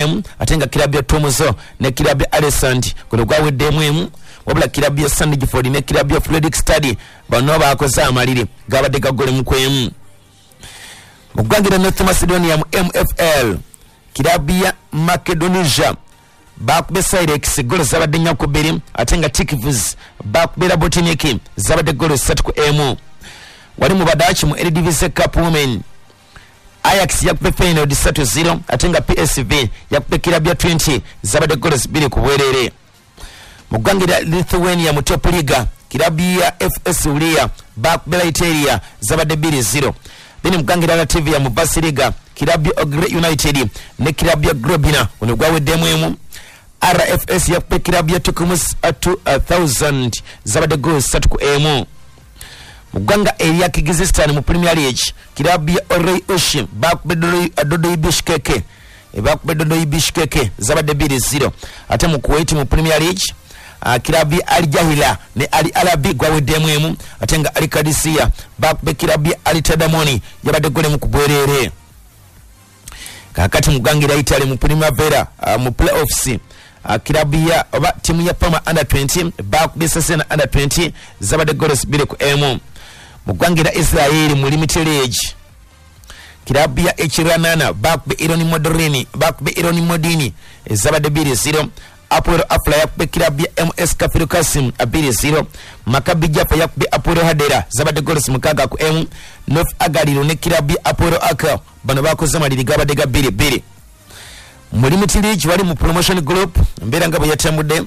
emu, ate nga kirabu ya Tomuzo ne kirabu ya Alessand guno gwaweddemu emu. Wabula kirabu ya Sandgiford ne kirabu ya Fredrikstad bano bakoze amaliri gabadde ga ggoolo emu ku emu. Mu ggwanga erya North Macedonia mu MFL, kirabu ya Macedonia bakube Sirex ggoolo zabadde 4-2, ate nga Tikvs bakube Rabotnik zabadde ggoolo 3-1. Wali mu Badachi mu Eredivisie Cup Women, Ajax yakube Feyenoord 3-0, ate nga PSV yakube kirabu ya 20 zabadde ggoolo 2-0. Mu ggwanga erya Lithuania mu Top Liga, kirabu ya FS Ulia bakube Laiteria zabadde 2-0. Then mu ggwanga erya Latvia mu Basiliga, kirabu ya Ogre United ne kirabu ya Grobina guno gwaweddemu emu. RFS yakube kirabu ya Tukumus 2000 zabadde ggoolo 3-1. Mu ggwanga erya Kyrgyzstan mu Premier League, kirabu ya Orey Ushi bakube Dodoi Bishkek bakube Dodoi Bishkek zabadde 2-0. Ate mu Kuwait mu Premier League, kirabu ya Al Jahila ne Al Arabi gwaweddemu emu, ate nga Al Qadisiyah bakube kirabu ya Al Tadamoni yabadde ggoolo emu ku bwereere. Kaakati mu ggwanga erya Italy mu Primavera mu playoffs, kirabu ya oba ttiimu ya Parma under 20 bakubye Cesena under 20 zabadde ggoolo 2-1. Mu ggwanga erya Israel mu Limited League, kirabu ya Echiranana bakube Ironi Modini zabadde 2-0. Apoel Afla yakube kirabu ya MS Kafir Kasim 2-0. Maccabi Jaffa yakube Apoel Hadera zabadde ggoolo 6-1. North Agaliro ne kirabu ya Apoel Aka bano bakoze amaliri gabadde ga 2-2. Mu Limited League wali mu Promotion Group, embeera nga bwe yatambudde,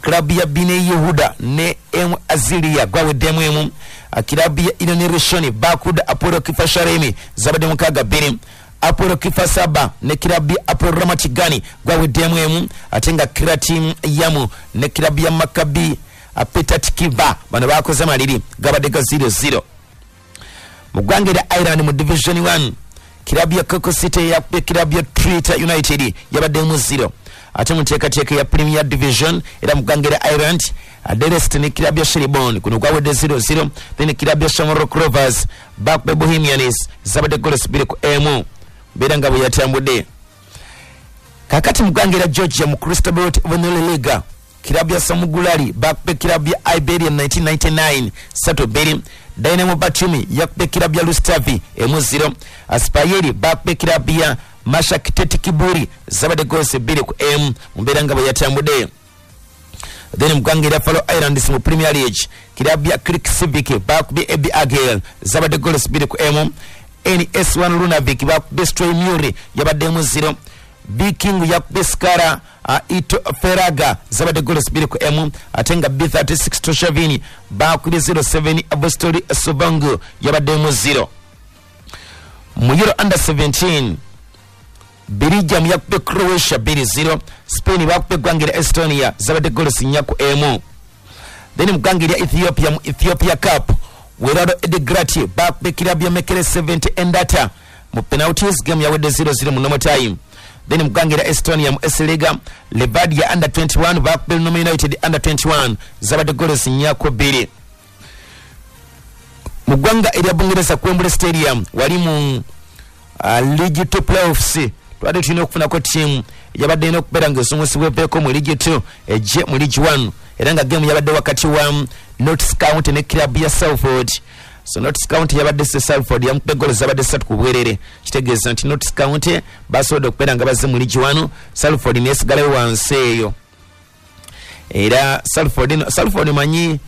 club ya Bine Yehuda ne M Azilia gwaweddemu emu. Kirabu ya Ironi Rishoni bakuda Apollo Kifa Sharemi zabadde 6-2. Apollo Kifa Saba ne kirabu ya Apollo Ramatigani gwaweddemu emu, ate nga Kratim Yamu ne kirabu ya Maccabi Petatikiva bano bakoze amaliri gabadde ga 0-0. Mu ggwanga erya Ireland mu Division 1, kirabu ya Coco City yakubye kirabu ya Trita United yabaddemu 0. Ate mu nteekateeka ya Premier Division era mu ggwanga erya Ireland, Adelest ne kirabu ya Shelbourne kuno gwawedde 0-0. Then kirabu ya Shamrock Rovers bakube Bohemians zabadde ggoolo 2-1. Mbeera nga bwe yatambudde. Kaakati mu ggwanga erya Georgia mu Crystal Vanilla Liga, kirabu ya Samugulari bakube kirabu ya Iberia 1999 3-2. Dynamo Batumi yakube kirabu ya Lustavi 1-0. Aspayeri bakube kirabu ya Mashakiteti Kiburi zabadde ggoolo 2-1. Mbeera nga bwe yatambudde. Then mu ggwanga erya Faroe Islands mu Premier League, kirabu ya Creek Civic bakubye Ebi Agel zabadde ggoolo 2-1. NS1 Lunavik bakubye Stroy Muri yabaddemu 0. Viking yakubye Skara Ito Feraga zabadde ggoolo 2-1, ate nga B36 Toshavini bakubye 07 Avostori Sobangu yabaddemu 0. Mu Euro under 17, Belgium yakubye Croatia 2-0. Spain bakubye eggwanga erya Estonia zabadde ggoolo 4-1. Then mu ggwanga erya Ethiopia mu Ethiopia Cup, Werado Edegrati bakubye kirabu ya Mekele 70 Endata mu penalties, game yawedde 0-0 mu normal time. Then mu ggwanga erya Estonia mu S-Liga, Levadia under 21 bakubye Noma United under 21 zabadde ggoolo 4-2. Mu ggwanga erya Bungereza ku Wembley Stadium wali mu League 2 playoffs, twabadde tulina okufunako ttiimu yabadde erina okubeera ng'esumusibwa eveeko mu League 2 ejje mu League 1, era nga game yabadde wakati wa Notts County ne kirabu ya Salford. So Notts County yabadde se Salford yamukubye ggoolo zabadde 3-0. Kitegeeza nti Notts County basobodde okubeera nga bazze mu League 1, Salford neesigalayo wansi eyo. Era Salford manyi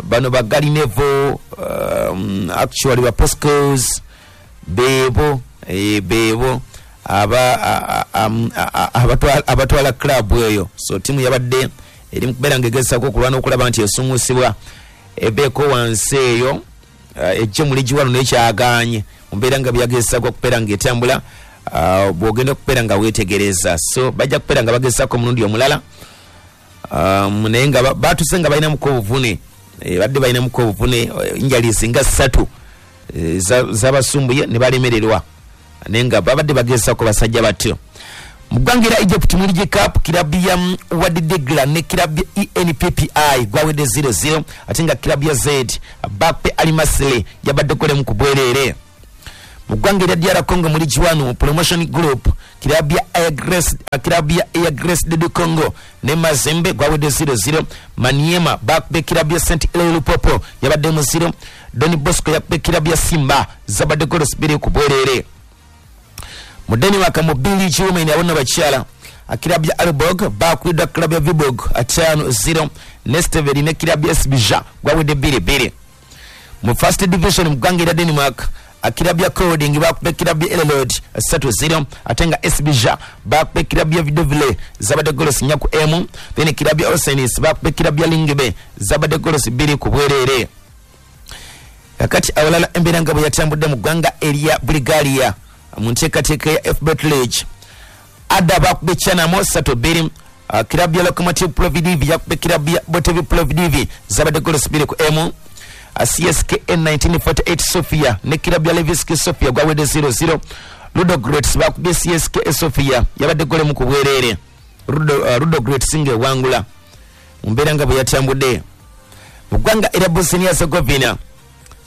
bano ba Gary Neville, actually ba Poscos bebo bebo abatwala club eyo. So timu yabadde eri mu kubeera ng'egezaako okulwana okulaba nti esumusibwa ebeeko wansi eyo ejje mu League 1 n'ekyagaanye mu mbeera nga byagezaako okubeera ng'etambula. Bw'ogenda okubeera nga weetegereza, so bajja kubeera nga bagezaako omulundi omulala, naye nga batuse nga balinamuko obuvune, badde balinamuko obuvune injuries nga 3 zabasumbuye ne balemererwa, naye nga babadde bagezaako basajja batyo. Mu ggwanga erya Egypt mu League Cup, kirabu ya Wadi Degla ne kirabu ya ENPPI gwawedde 0-0, ate nga kirabu ya Z Bape Al Masry yabadde ggoolo emu ku bwereere. Mu ggwanga erya DR Congo mu League 1 mu Promotion Group, kirabu ya Air Grace de Congo ne Mazembe gwawedde 0-0. Maniema bakubye kirabu ya St Eloi Lupopo yabadde mu 0. Don Bosco yakubye kirabu ya Simba zabadde goals 2 ku bwerere. Mu Denmark mu B-League Women abonna bakyala, kirabu ya Aalborg bakubiddwa kirabu ya Viborg 5-0. Nesteveri ne kirabu ya Sbija gwawedde 2-2. Mu First Division mu ggwanga erya Denmark, kirabu ya Kolding bakubye kirabu ya Elelod 3-0, ate nga Sbija bakubye kirabu ya Vidovile zabadde goals 4 ku emu. Then kirabu ya Oceanis bakubye kirabu ya Lingebe zabadde goals 2 ku bwerere. Kakati awalala embeera nga bwe yatambudde mu ggwanga erya Bulgaria mu nteekateeka ya FBet League, Ada bakubye Chanamo 3-2. Kirabu ya Lokomotiv Plovdiv yakubye kirabu ya Botev Plovdiv zabadde goals 2 ku emu. CSKA 1948 Sofia ne kirabu ya Levski Sofia gwawedde 0-0. Ludogorets bakubye CSKA Sofia yabadde gole mu kubwerere. Ludogorets ng'ewangula mu mbeera nga bwe yatambudde. Mu ggwanga erya Bosnia Herzegovina,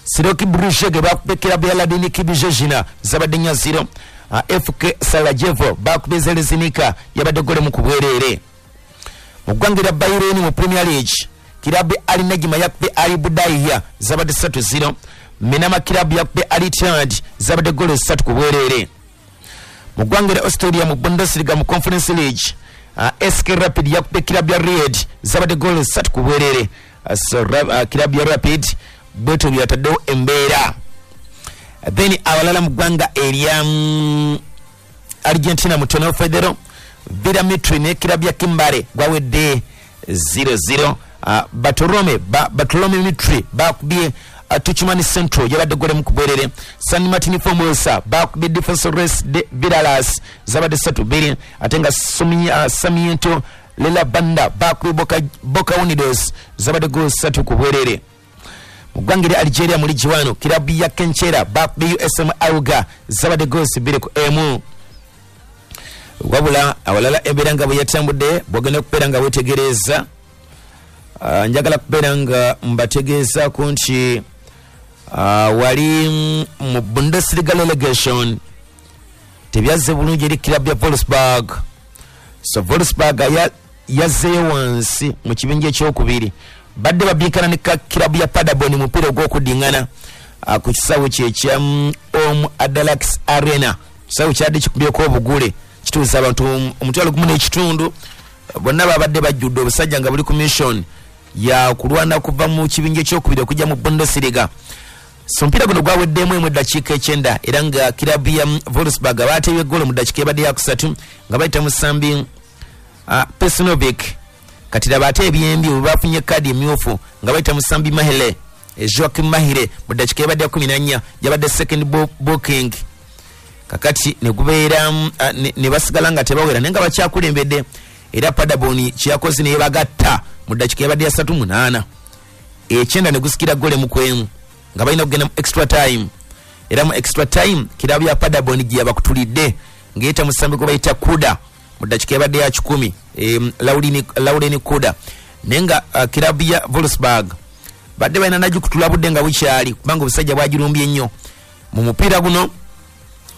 Siroki Brijeg bakubye kirabu ya Ladini Kibijejina zabadde 4-0. FK Sarajevo bakubye Zelezinika yabadde gole mu kubwerere. Mu ggwanga erya Bahrain mu Premier League, kirabu Ali Najma yakubye Ali Budaiya zabadde 3-0. Minama kirabu yakubye Ali Ittihad zabadde goals 3 ku bwerere. Mu ggwanga erya Australia mu Bundesliga mu Conference League, SK Rapid yakubye kirabu ya Ried zabadde goals 3 ku bwerere. So kirabu ya Rapid bwetyo byataddewo embeera. Then abalala mu ggwanga erya Argentina mu Torneo Federal, Villa Mitre ne kirabu ya Kimbare gwawedde 0-0. Bartolome Mitre bakubye Tucumani Central yabadde gole mu kubwerere. San Martin Formosa bakubye Defensores de Vidalas zabadde 3-2, ate nga Sarmiento Lela Banda bakubye Boca Unidos zabadde goals 3 ku bwerere. Mu ggwanga erya Algeria mu League 1, kirabu ya Kenchera bakubye USM Auga zabadde goals 2 ku emu. Wabula awalala embeera nga bwe yatambudde bwogenda okubeera nga wetegereza, njagala kubeera nga mbategeezaako nti wali mu Bundesliga relegation tebyazze bulungi eri kirabu ya Wolfsburg. So Wolfsburg yazzeeyo wansi mu kibinja ekyokubiri, badde babinkana ne kirabu ya Paderborn mupiira ogw'okudingana ku kisaawe kye ekya Om Adalax Arena. Kisaawe kyadde kikubyeko obugule kituusa abantu 1,500, bonna babadde bajjudde obusajja nga buli ku mission ya kulwana kuva mu kibinja ekyokubiri okujja mu Bundesliga. So omupiira guno gwaweddemu emu eddakiika 9, era nga kirabu ya Wolfsburg bateebye eggoolo mu ddakiika ebadde yakusatu nga bayita musambi Pesinovic. Kati laba ate ebyembi bwe bafunye kaadi emyufu nga bayita musambi Mahele, Joachim Mahire mu ddakiika ebadde ya 14 yabadde second booking. Kakati ne gubeera ne basigala nga tebawera naye nga bakyakulembedde, era Paderborn kyeyakoze ne bagatta mu ddakiika ebadde ya 38 9 ne gusikira gole mu kwemu nga balina okugenda mu extra time. Era mu extra time kirabu ya Paderborn gye yabakutulidde ng'eyita musambi gwe bayita Kuda mu ddakiika ebadde ya 10, Lauren Kuda. Naye nga kirabu ya Wolfsburg badde balina nagikutula budde nga bukyali kubanga obusajja bwagirumbye nnyo. Mu mupiira guno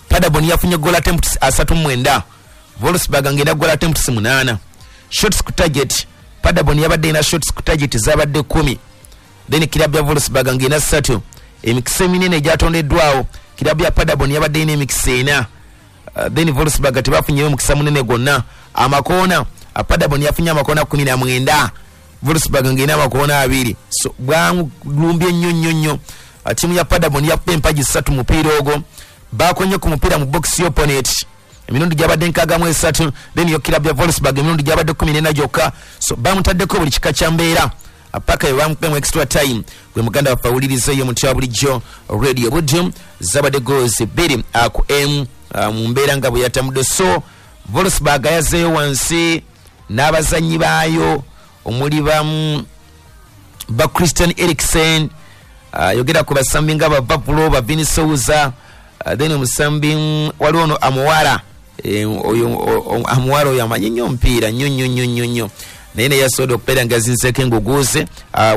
Paderborn yafunye goal attempts 39, Wolfsburg ng'erina goal attempts 8. Shots ku target, Paderborn yabadde erina shots ku target zabadde 10, then kirabu ya Wolfsburg ng'erina 3. Emikisa eminene egyatondeddwawo kirabu ya Paderborn yabadde erina emikisa 4, then Wolfsburg tebafunyeyo omukisa munene gwonna. Amakoona, Paderborn yafunye amakoona 19, Wolfsburg ng'erina amakoona 2. So bwamulumbye nnyo nnyo nnyo. Ttiimu ya Paderborn yakuba empagi 3 mupiira ogwo, bakonye ku mupiira mu box opponent emirundi gyabadde 63, then yo kirabu ya Wolfsburg emirundi gyabadde 14 gyokka. So bamutaddeko buli kika kya mbeera paka bamukubye mu extra time. Gwe muganda waffe awuliriza eyo mutya bulijjo Radio Buddu zabadde goals 2 ku M mu mbeera nga bwe yatambudde. So Wolfsburg yazzeeyo wansi n'abazannyi baayo omuli ba Christian Eriksen, yogera ku basambi nga ba Vapulo, ba Vini Souza, then omusambi waliwo ono Amuwara, oyo Amuwara oyo amanyi nnyo omupiira nnyo nnyo nnyo nnyo nnyo, naye naye yasobodde okubeera nga azinzeeko enguguuze.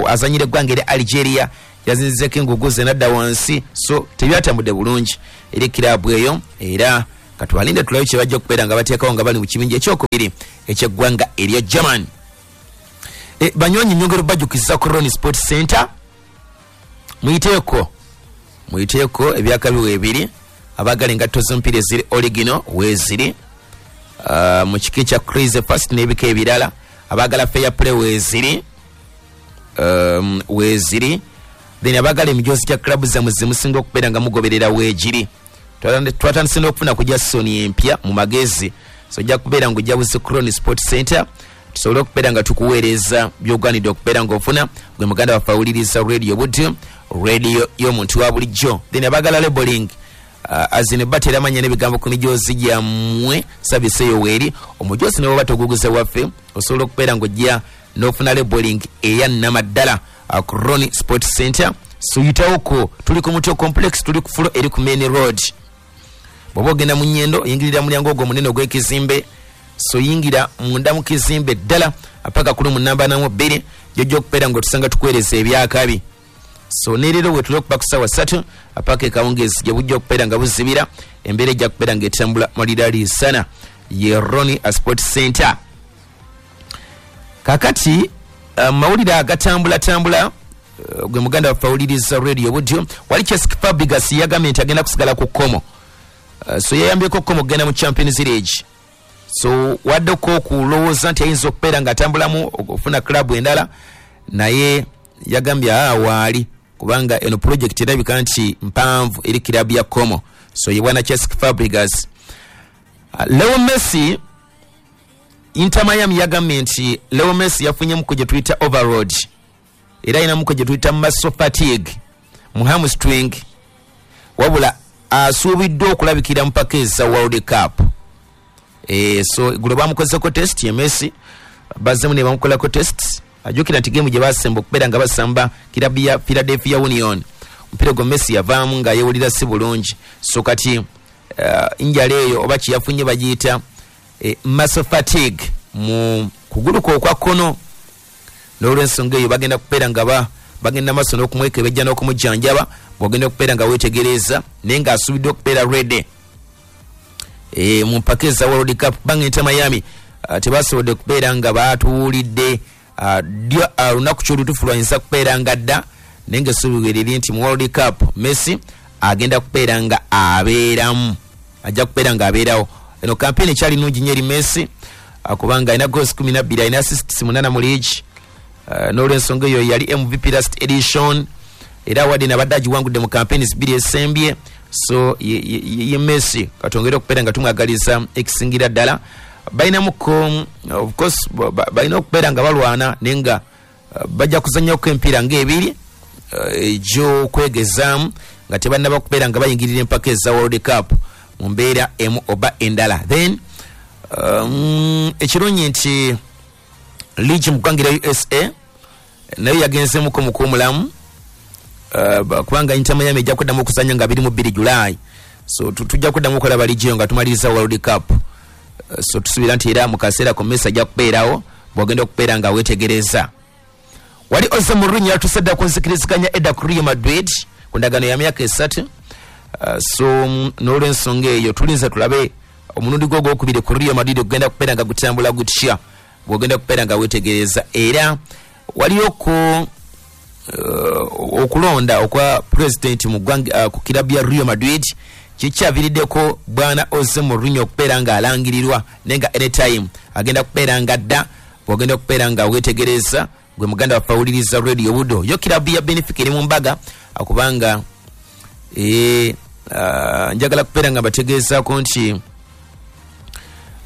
Azanyira eggwanga erya Algeria, Yazinzeko engugu ze nadda wansi, so tebyatambudde bulungi eri kirabu eyo. Era katwalinde tulabe kye bajja okubeera nga bateekawo nga bali mu kibinja ekyokubiri ekyeggwanga erya German. Banywanyi, nyongero bajjukiza ku Ron Sport Center, muyiteeko ebyakabi weebiri. Abaagala engatto z'omupiira eziri original weeziri, mu kika ekya Crazy Fast n'ebika ebirala. Abaagala fair play weeziri, weeziri. Then abaagala emijoozi gya club zammwe zemusinga okubeera nga mugoberera weegiri. Twatandise n'okufuna ku Jason empya mu magezi, so ojja kubeera ng'ojja buzi Cron Sport Center tusobole okubeera nga tukuweereza by'ogwanidde okubeera ng'ofuna, gwe muganda waffe awuliriza Radio Buddu, radio y'omuntu wa bulijjo. Then abaagala labeling, azine batera amanya n'ebigambo ku mijoozi gyammwe, service eyo weeri. Omujoozi ne bw'oba toguguze waffe, osobola okubeera ng'ojja n'ofuna labeling eya nnamaddala ku Ron Sport Center. So yitawoko, tuli ku Mutyo Complex, tuli ku floor eri ku main road. Bw'oba ogenda mu Nyendo, oyingirira mulyango ogwo omunene ogw'ekizimbe, so yingira munda mu kizimbe ddala paka ku lumu namba 42, gyojja okubeera ng'otusanga tukuweereza ebyakabi. So ne leero bwe tuli okuba ku ssaawa 3 paka ekawungeezi gye bujja okubeera nga buzibira, embeera ejja kubeera ng'etambula maliralisana. Ye Ron Sport Center. Kakati mawulire agatambulatambula, gwe muganda waffe awuliriza Radio Budyo, wali Cesc Fabregas yagambye nti agenda kusigala ku Como. So yayambyeko Como okugenda mu Champions League, so waddeko okulowooza nti ayinza okubeera ng'atambulamu okufuna club endala, naye yagambye aa waali kubanga eno project erabika nti mpanvu eri kirabu ya Como. So ye bwana Cesc Fabregas. Leo Messi, Inter Miami yagambye nti Leo Messi yafunyemu gye tuyita overload, era ayinamuko gye tuyita muscle fatigue mu hamstring, wabula asuubiddwa okulabikira mu paka eza World Cup. So gulo bamukozeko test ye Messi, bazzemu ne bamukolako test. Ajjukira nti game gye basemba okubeera nga basamba kirabu ya Philadelphia Union, omupiira gwo Messi yavaamu nga yeewulira si bulungi. So kati injala eyo oba kyeyafunye bagiyita muscle fatigue mu kugulu kwe okwa kkono. N'olwensonga eyo bagenda kubeera nga bagenda maaso n'okumwekebejja n'okumujjanjaba, bw'ogenda okubeera nga weetegereza, naye ng'asuubiddwa okubeera ready mu mpaka eza World Cup, kubanga Inter Miami tebasobodde kubeera nga batuwulidde ddyo lunaku kyolutuufu lwayinza kubeera nga dda, naye ng'essuubi liri nti mu World Cup Messi agenda kubeera nga abeeramu, ajja kubeera nga abeerawo. Eno campaign ekyali nnungi nnyo eri Messi, kubanga alina goals 12, alina assists 8 mu league. N'olwensonga eyo yali MVP last edition, era award nabadde agiwangudde mu campaigns bbiri esembye. So ye Messi, katwongere okubeera nga tumwagaliza ekisingira ddala. Balinamuko, of course balina okubeera nga balwana, naye nga bajja kuzannyako emipiira ng'ebiri egy'okwegezaamu nga tebannaba kubeera nga bayingirira empaka eza World Cup mu mbeera emu oba endala. Then ekirungi nti league mu ggwanga erya USA nayo yagenzeemuko mu kuwumulamu, kubanga Inter Miami ejja kuddamu okuzannya nga 22 July. So tujja kuddamu okulaba league eyo nga tumaliriza World Cup. So tusuubira nti era mu kaseera ko Messi ajja kubeerawo bw'ogenda okubeera nga weetegereza. Wali Jose Mourinho yatuuse dda ku nzikiriziganya edda ku Real Madrid ku ndagaano ya myaka 3. So n'olwensonga eyo tulinze tulabe omulundi gwo ogwokubiri ku Real Madrid ogenda kubeera nga gutambula gutya, bw'ogenda kubeera nga weetegereza. Era waliyoko okulonda okwa president mu ggwanga ku kirabu ya Real Madrid kikyaviiriddeko bwana Jose Mourinho okubeera nga alangirirwa, naye nga anytime agenda kubeera nga dda, bw'ogenda okubeera nga weetegereza, gwe muganda waffe awuliriza Radio Budo. Yo kirabu ya Benfica eri mu mbaga, kubanga njagala kubeera nga bategeezaako nti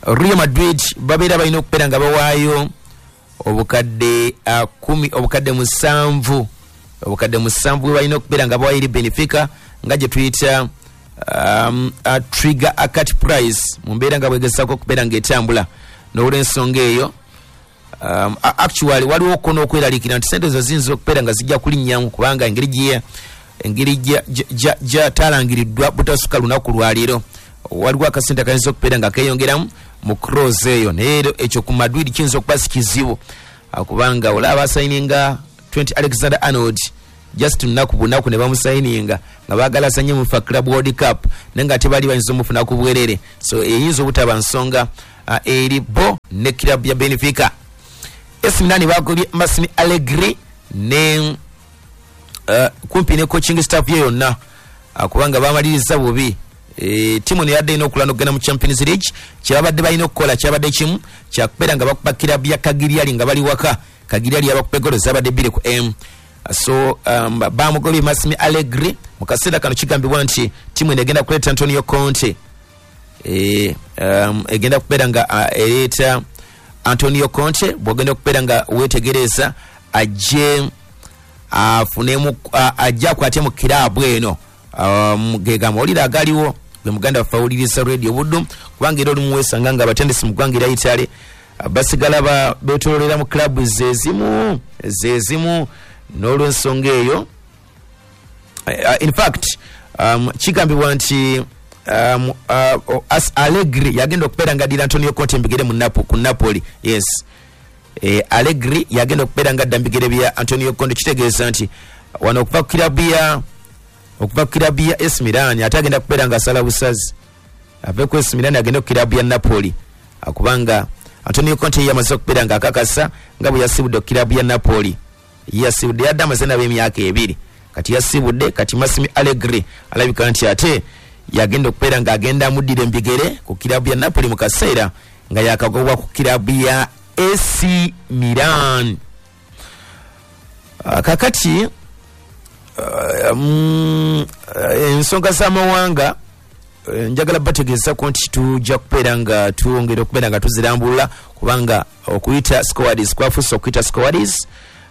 Real Madrid babeera balina okubeera nga bawaayo obukadde 10, obukadde 7, obukadde 7 bwe balina okubeera nga bawaayo eri Benfica, nga gye tuyita trigger cut price mu mbeera nga bwegezaako okubeera ng'etambula. N'olwensonga eyo actually waliwo ko n'okweraliikirira nti sente ezo ziyinza okubeera nga zijja kulinnyamu, kubanga engeri gy'atalangiriddwa butasuka lunaku lwaleero, waliwo akasente akayinza okubeera nga keeyongeramu mu cross eyo. Naye era ekyo ku Madrid kiyinza okuba si kizibu, kubanga olaba basayininga Trent Alexander Arnold. Just lunaku bunaku ne bamusayininga nga baagala asanye mu Club World Cup, naye nga tebali bayinza omufuna ku bwerere. So eyinza obutaba nsonga eri bo ne club ya Benfica. AC Milan bagobye Massimo Allegri ne kumpi ne coaching staff ye yonna, kubanga bamaliriza bubi. Timu yadde erina okulwana okugenda mu Champions League. Kyebabadde balina okukola kyabadde kimu kyakubeera nga bakuba kirabu ya Cagliari nga bali waka. Cagliari yabakuba eggolo zabadde 2-1. So bamugobye Massimo Allegri. Mu kaseera kano kigambibwa nti timu eno egenda kuleeta Antonio Conte. Egenda kubeera nga ereeta Antonio Conte. Bw'ogenda okubeera nga weetegereza ajje afunemu, ajje akwate mu kiraabu eno. Ge gamawulire agaliwo gwe muganda waffe awuliriza Radio Buddu, kubanga era olumu weesanga nga abatendesi mu ggwanga erya Italy basigala beetooloolera mu club zezimu zezimu n'olwensonga eyo. In fact, kigambibwa nti Allegri yagenda okubeera nga addira Antonio Conte mbigere mu ku Napoli. Yes, Allegri yagenda okubeera nga adda mbigere bya Antonio Conte. Kitegeeza nti wano okuva ku kirabu ya AC Milan ate agenda kubeera nga asala busazi ave ku AC Milan agende ku kirabu ya Napoli, kubanga Antonio Conte yamaze okubeera nga akakasa nga bwe yasibudde ku kirabu ya Napoli. Yasibudde yadde amaze nabo emyaka 2, kati yasibudde. Kati Massimo Allegri alabika nti ate yagenda okubeera nga agenda amuddira embigere ku kirabu ya Napoli mu kaseera nga yakagobwa ku kirabu ya AC Milan. Kakati ensonga z'amawanga njagala bategeezako nti tujja kubeera nga twongera okubeera nga tuzirambulula, kubanga okuyita squads kwafuuse okuyita squads.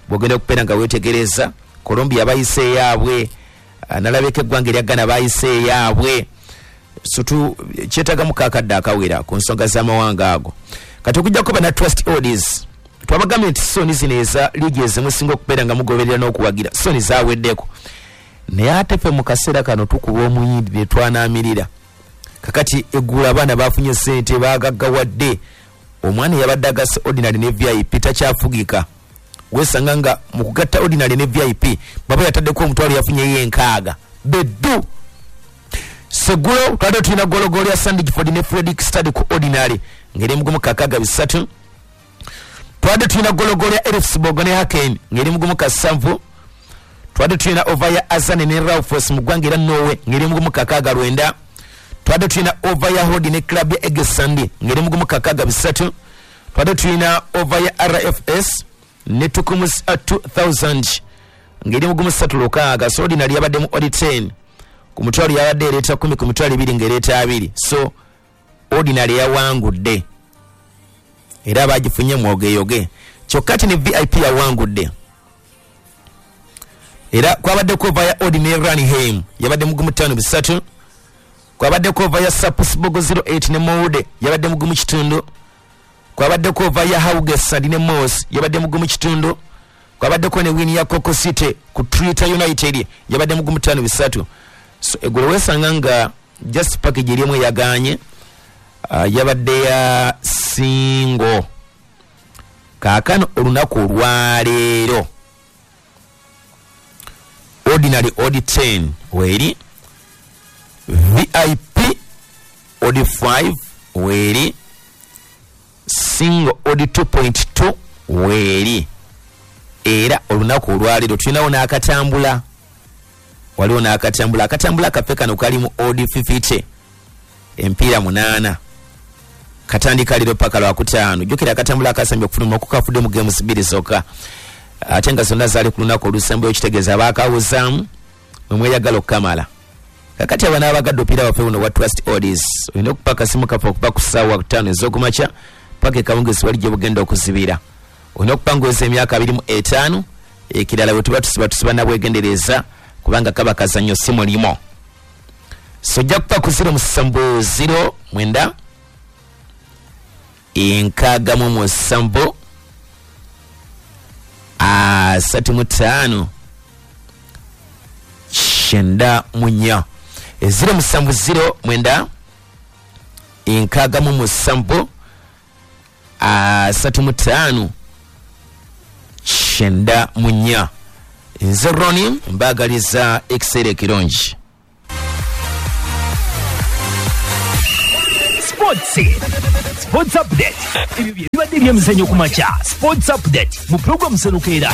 Bw'ogenda okubeera nga weetegereza Colombia bayise eyaabwe, nalabeko eggwanga erya Ghana bayise eyaabwe. So kyetagamu kakadde akawera ku nsonga z'amawanga ago. Kati okujjako bana Trust Odds, twabagambye nti soni zino eza liigi ezimusinga okubeera nga mugoberera n'okuwagira soni zaweddeko, naye ate ffe mu kaseera kano tukuba omuyindi ne twanaamirira. Kakati eggulo abaana bafunye ssente baagaggawadde. Omwana yabadde agase ordinary ne VIP takyafugika. Weesanga nga mu kugatta ordinary ne VIP baba yataddeko omutwalo yafunyeyo 6 beddu. Segulo twabadde tulina gologolo ya Sandgiford ne Fredrikstad ku ordinary ng'eri mugumu 63. Twabadde tulina gologolo ya Elfsborg ne Haken ng'eri mugumu 7. Twabadde tulina over ya Azane ne Raufoss mu ggwanga era Norway ng'eri mugumu 69. Twabadde tulina over ya Hodi ne club ya Egesandi ng'eri mugumu 63. Twabadde tulina over ya RFS ne Tukumus 2000 ng'eri mugumu 36. So ordinary yabadde mu odd 10 ku mutwalo yabadde ereeta 10, ku mitwalo 2 ng'ereeta 2. So ordinary yawangudde era bagifunye mwogeyoge. Kyokka ti ne VIP yawangudde era kwabaddeko over ya Ordinary Ranheim yabadde mugumu 53. Kwabaddeko over ya Sapsborg 08 ne Molde yabadde mugumu 5. Kwabaddeko over ya Haugesund ne Moss yabadde mugumu 5. Kwabaddeko ne win ya Coco City ku Twitter United yabadde mugumu 53. So eggulo weesanga nga just package erimu yaganye yabadde ya single. Kaakano olunaku olwaleero ordinary odd 10 weeri, VIP odd 5 weeri, single odd 2.2 weeri. Era olunaku olwaleero tulinawo n'akatambula, waliwo n'akatambula. Akatambula kaffe kano kali mu odd 50 empiira 8 katandika leero paka Lwakutaano. Jjukira akatambula akasembye okufuluma kukafudde mu games 2 zokka, ate nga zonna zaali ku lunaku olusembayo, kitegeeza baakawuzaamu mwe mweyagala okukamala. Kakati abaana abagadde opiira waffe buno bwa Trust Odds, olina okupa akasimu kaffe okuva ku ssaawa 5 ez'okumakya paka ekawungezi wali gye bugenda okuzibira. Olina okupanguza emyaka 25. Ekirala bwe tuba tusiba nabwegendereza kubanga kaba kazannyo si mulimo. So ojja kupa ku 07 09 67 35 94 070 9 67 35 94. Nze Roni, mbaagaliza ekiseera ekirungi. Sports, Sports Update. Ebyo bye bibadde ebyemizannyo ku makya. Sports Update mu pulogulaamu Serukeera.